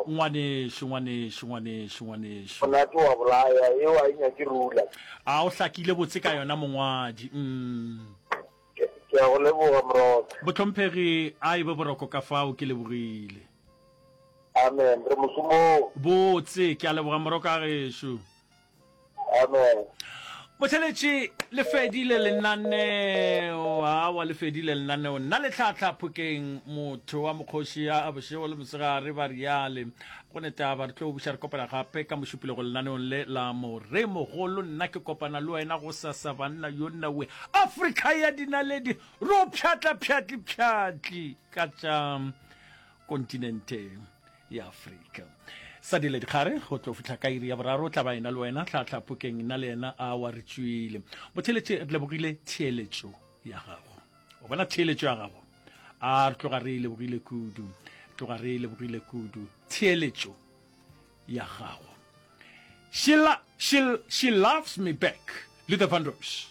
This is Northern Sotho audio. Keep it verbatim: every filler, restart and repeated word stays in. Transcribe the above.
Ngwanešu, ngwanešu, ngwanešu, ngwanešu. Monate wa bolaya, eo a e nyake rula. A o hlakile botse ka yona mongwadi. Mm. Ke, ke a go leboga Moroka. Bohlomphegi, a e be boroko ka fao, ke lebogile. Amen, re mošomong. Botse, ke a leboga Moroka gešo. Amen. Motheletši, le fedile lenaneo. Awa, le fedile lenaneo. Nna le tlhahla Phokeng, motho wa mokgoši a bošego le mosegare ba riale. Go ne taba, re tlo buša re kopana gape ka Mošupologo lenaneong le la Moremogolo. Nna ke kopana le wena gosasa banna yo nna we. Afrika ya dinaledi, ro pšhatla pšhatli pšhatli ka tša kontinente ya Afrika. Sa dile dikgare go tlo fihla ka iri ya boraro, o tla ba ena le wena tlhahla Phokeng, nna le yena awa re tšwile. Botheeletše, re lebogile theeletšo ya gago. O bona theeletšo ya gago? A re tloga re e lebogile kudu, tloga re e lebogile kudu theeletšo ya gago. She, la, she, she loves me back, Luther Vandross.